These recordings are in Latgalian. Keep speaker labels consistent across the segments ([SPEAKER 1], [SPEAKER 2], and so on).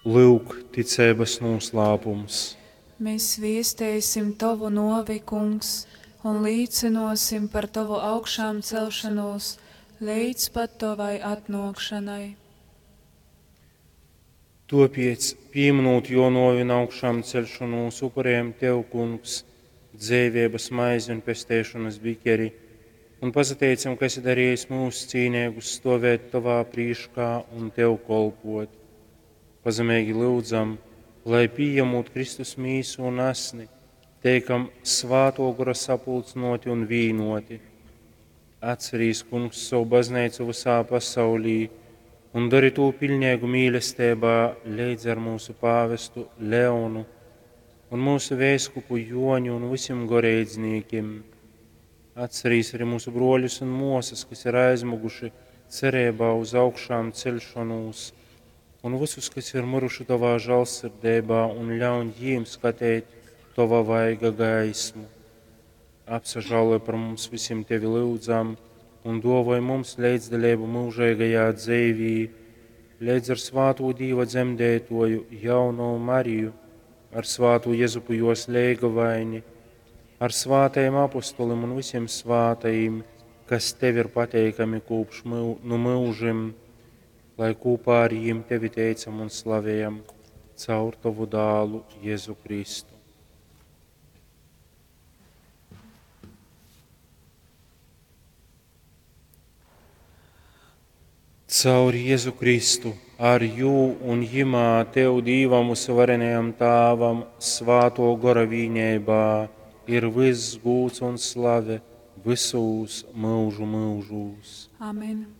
[SPEAKER 1] Lyuk, ticeibas nūslāpums.
[SPEAKER 2] Mēs viesteisim Tovu nuovi, Kungs, un līcynuosim par Tovu augšāmcelšanos leidz pat Tovai atnuokšanai.
[SPEAKER 1] Tuopiec, pīminūt juo nuovi un augšāmceļšonūs, upurējam Tev, Kungs, dzeiveibas maizi un pesteišonas bikeri, un pasateicam, ka esi darījis mūs cīneigus stovēt Tovā prīškā un Tev kolpot. Pazemeigi lyudzam, lai pījemūt Kristus mīsu un asni, teikam svāto gora sapulcynoti un vīnoti. Atcerīs, Kungs, savu baznīcu visā pasaulī un dari tū piļneigu mīlestībā leidz ar mūsu pāvestu Leonu un mūsu vēskupu Joņu un visiem goreidznīkim. Atcerīs arī mūsu broļus un mosas, kas ir aizmuguši cerībā uz augšām celšanos, un visus, kas ir miruši tavā žēlsirdībā, un ļauj jiem skatīt tava vaiga gaismu. Apsažāloj par mums visiem tevi lūdzam, un dovoj mums līdzdalību mūžīgajā dzīvī, līdz ar svāto Dīva dzemdētoju jauno Mariju, ar svāto Jezupu jos leigavaini, ar svātajiem apustulim un visiem svātajiem, kas tev ir pateikami kopš mū, nu mūžim, lai kopā ar jiem tevi teicam un slavējam caur tavu dālu Jēzu Kristu. Caur Jēzu Kristu, ar jū un jimā Tev Dīvam uzvarenajam Tāvam, svāto gora vīņībā, ir viss gūts un slave visūs mūžu mūžūs.
[SPEAKER 2] Amen.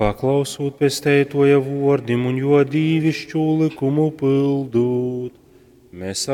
[SPEAKER 1] Paklausūt pesteitoja vordim un jo dīvišķu likumu pildūt, mēs ar